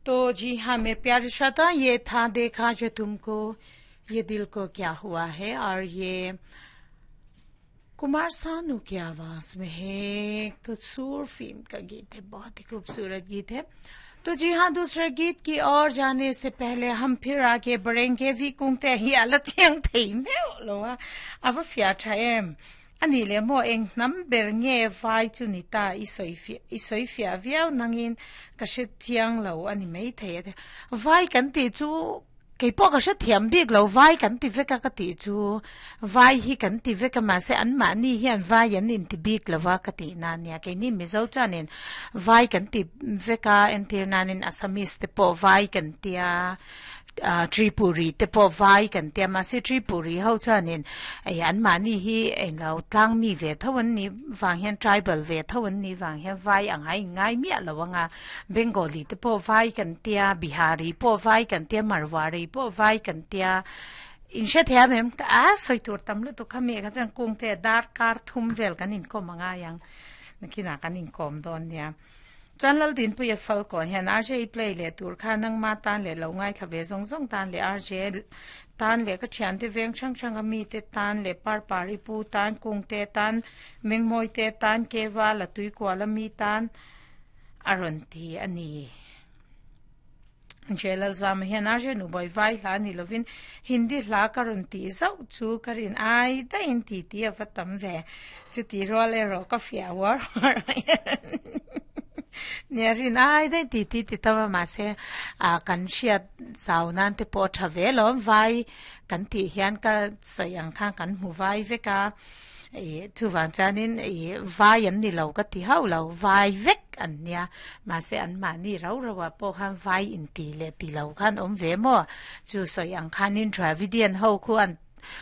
तो जी हाँ मेरे प्यारे श्रोता, ये था देखा जो तुमको ये दिल को क्या हुआ है और ये कुमार सानू की आवाज में है। कसूर फिल्म का गीत है, बहुत ही खूबसूरत गीत है। तो जी हाँ, दूसरे गीत की ओर जाने से पहले हम फिर आगे बढ़ेंगे। Vi kung te hi ala chiang thei meuh lo a, a va fiah tha em. Ani leh maw eng hnam ber nge vai chu ni ta i sawi fiah i sawi fiah viau nangin ka hre chiang lo a ni mai thei a ti. Vai kan tih chu kei pawh ka hre thiam bik lo, vai kan ti vek a ka tih chu vai hi kan ti vek a mahse anmahni hian vai an inti bik lo a ka tih na nia. Keini Mizo chuanin vai kan ti vek a, entir nanin Assamese te pawh vai kan tia. Tripuri te pawh vai kan tia mahse Tripuri ho chuanin ei anmahni hi englo tlang mi ve tho an nih vang hian tribal ve tho an nih vang hian vai ang a inngai miah lo ang a, Bengali te pawh vai kan tia, Bihari pawh vai kan tia, Marwari pawh vai kan tia, in hre thiam em? A sawi tur tam lutuk kha mi kha chuan kung te dar kar thum vel kan inkawm a ngai ang, nakinah kan inkawm dawn nia. Chuan Laldinpuia Falkawn hian RJ play leh tur kha nangma tan leh lo ngaithla ve zawng zawng tan leh RJ tan leh ka thiante veng hrang hrang a mite tan leh Parpari pu tan Kungte tan Mengmawite tan Keva Latuikuala mi tan a rawn ti a ni. Jelalzama hian RJ Nubawi vai hla ni lovin Hindi hla ka rawn tih zauh chu ka rin ai daihin ti ti a va tam ve. Chuti rual erawh ka fiah uar uar mai a nia rin ai daih ti ti ti tam a mahse ah kan hriat zau nan te pawh a tha ve alawm vai kan tih hian ka sawi ang khan kan hmu vai vek a ih chuvang chuanin ih vai an ni lo ka ti hauh lo vai vek an nia mahse anmahni rau rau ah pawh khan vai inti leh ti lo khan awm ve maw chu sawi ang khanin Dravidian ho khu an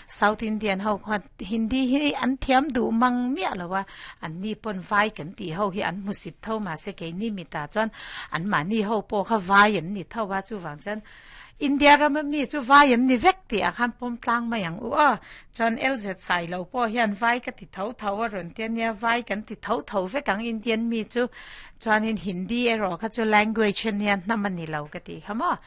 South Indian ho khuan Hindi hi an thiam duh mang miah lo a, anni pawn vai kan tih ho hi an hmusit tho mahse keini mitah chuan anmahni ho pawh kha vai an ni tho a, chuvang chuan India rama mi chu vai an ni vek tih ah khan pawm tlang mai ang u aw. Chuan LZ sai lo pawh hian vai ka ti tho tho a rawn ti a nia, vai kan ti tho tho vek ang Indian mi chu, chuanin Hindi erawh kha chu language ania hnam a ni lo ka tih kha maw.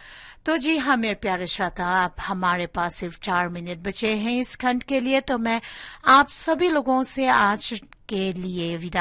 तो जी हाँ मेरे प्यारे श्रोता, आप हमारे पास सिर्फ 4 मिनट बचे हैं इस खंड के लिए, तो मैं आप सभी लोगों से आज के लिए विदा